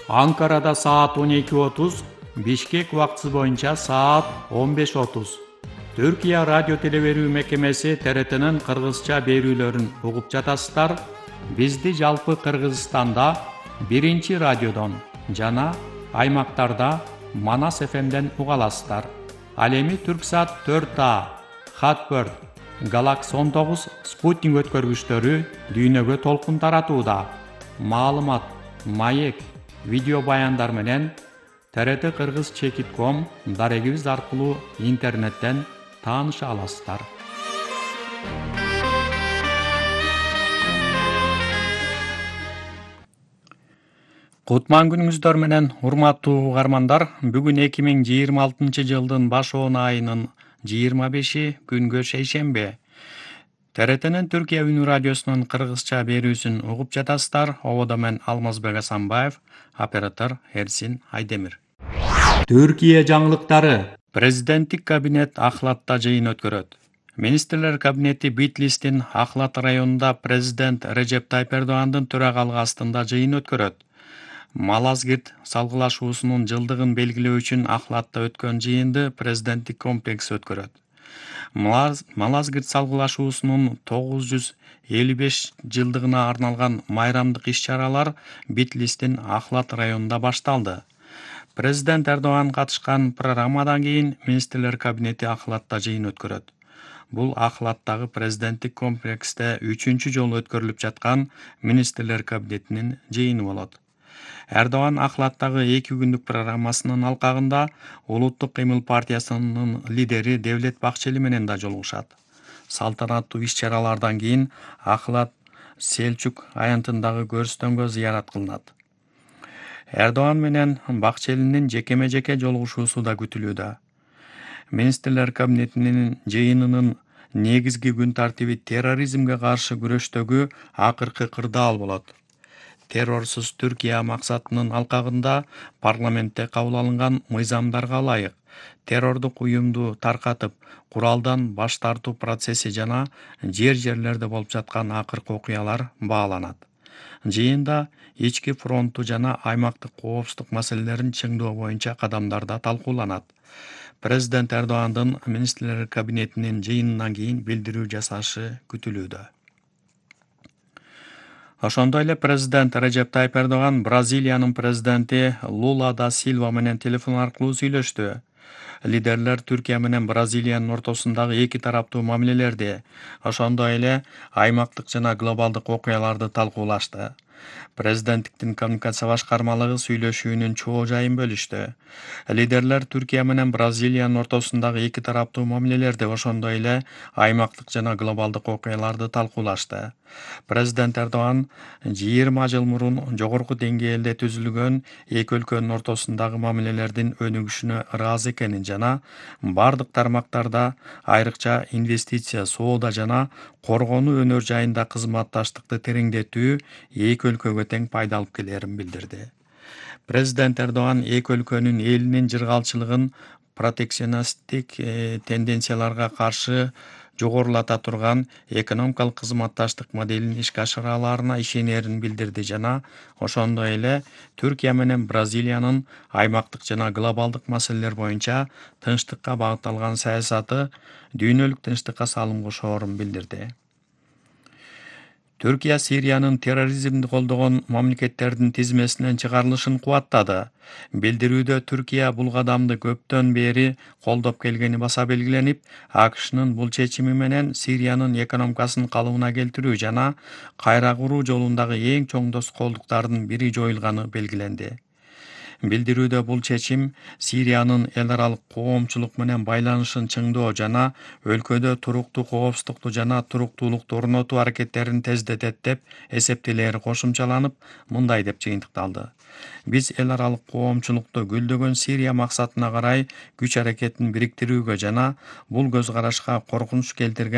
Анкарада саат 12:30, Бишкек убактысы боюнча саат 15:30. Түркия радио телеберүү мекемеси ТРТнын кыргызча берүүлөрүн угуп жатасыздар. Бизди жалпы Кыргызстанда 1 радиодон жана аймактарда Манас ФМден уга аласыздар. Ал эми Түрксат 4А, Хатбird, Galaxy 19 спутник өткөргүчтөрү дүйнөгө толкун таратууда. Маалымат, маек, видео баяндар менен TRT-Kırgız.com дарегибиз аркылуу интернеттен тааныша аласыздар. Кутман күнүңүздөр менен урматтуу угармандар, бүгүн 2026 жылдын башоон айынын 25 күнгө шейшембе. ТРТнын Түркия үнү радиосунун кыргызча берүүсүн угуп жатасыздар. Ободо мен Алмазбек Асанбаев, оператор Эрсин Айдемир. Түркия жаңылыктары. Президенттик кабинет Ахлатта жыйын өткөрөт. Министрлер кабинети Битлистин Ахлат районунда президент Режеп Тайып Эрдогандын төрагалыгы астында жыйын өткөрөт. Малазгирт салгылашуусунун жылдыгын белгилөө үчүн Ахлатта өткөн жыйынды президенттик комплекс өткөрөт. Малазгирт салгылашуусунун 955 жылдыгына арналган майрамдык иш-чаралар Битлистин Ахлат районунда башталды. Президент Эрдоган катышкан программадан кийин министрлер кабинети Ахлатта жыйын өткөрөт. Бул Ахлаттагы президенттик комплексте 3-чү жолу өткөрүлүп жаткан министрлер кабинетинин жыйыны болот. Эрдоган Ахлаттагы 2 күндүк программасынын алкагында Улуттук кыймыл партиясынын лидери Девлет Бакчели менен да жолугушат. Салтанаттуу иш-чаралардан кийин Ахлат Селчук аянтындагы көрүстөнгө зыярат кылынат. Эрдоган менен Бакчелинин жекеме-жеке жолугушуусу да күтүлүүдө. Министрлер кабинетинин жыйынынын негизги күн тартиби терроризмге каршы күрөштөгү акыркы кырдаал болот. Террорсуз Түркия максатынын алкагында парламентте кабыл алынган мыйзамдарга ылайык террордук уюмду таркатып, куралдан баш тартуу процесси жана жерлерде болуп жаткан акыркы окуялар бааланат. Жыйында ички фронтту жана аймактык коопсуздук маселелерин чыңдоо боюнча кадамдар да талкууланат. Президент Эрдогандын министрлер кабинетинин жыйынынан кийин билдирүү жасашы күтүлүүдө. Ошондой эле президент Режеп Тайып Эрдоган Бразилиянын президенти Лула да Силва менен телефон аркылуу сүйлөштү. Лидерлер Түркия менен Бразилиянын ортосундагы эки тараптуу мамилелерди, ошондой эле аймактык жана глобалдык окуяларды талкуулашты. Президенттиктин коммуникация башкармалыгы сүйлөшүүнүн чоо жайын бөлүштү. Лидерлер Түркия менен Бразилиянын ортосундагы эки тараптуу мамилелерди, ошондой эле аймактык жана глобалдык окуяларды талкуулашты. Президент Эрдоган 20 жыл мурун жогорку деңгээлде түзүлгөн эки өлкөнүн ортосундагы мамилелердин өнүгүшүнө ыраазы экенин жана бардык тармактарда, айрыкча инвестиция, соода жана коргонуу өнөр жайында кызматташтыкты тереңдетүү эки өлкөгө тең пайда алып келерин билдирди. Президент Эрдоган эки өлкөнүн элинин жыргалчылыгын протекционисттик тенденцияларга каршы жогорулата турган экономикалык кызматташтык моделин ишке ашыра алаарына ишенерин билдирди жана ошондой эле Түркия менен Бразилиянын аймактык жана глобалдык маселелер боюнча тынчтыкка багытталган саясаты дүйнөлүк тынчтыкка салым кошоорун билдирди. Түркия Сириянын терроризмди колдогон мамлекеттердин тизмесинен чыгарылышын кубаттады. Билдирүүдө Түркия бул кадамды көптөн бери колдоп келгени баса белгиленип, АКШнын бул чечими менен Сириянын экономикасын калыбына келтирүү жана кайра куруу жолундагы эң чоң тоскоолдуктардын бири жоюлганы белгиленди. Билдирүүдө бул чечим Сириянын эл аралык коомчулук менен байланышын чыңдоо жана өлкөдө туруктуу коопсуздукту жана туруктуулукту орнотуу аракеттерин тездетет деп эсептелери кошумчаланып, мындай деп жыйынтыкталды. Биз эл аралык коомчулукту гүлдөгөн Сирия максатына карай күч аракетин бириктирүүгө жана бул көз карашка коркунуч келтирген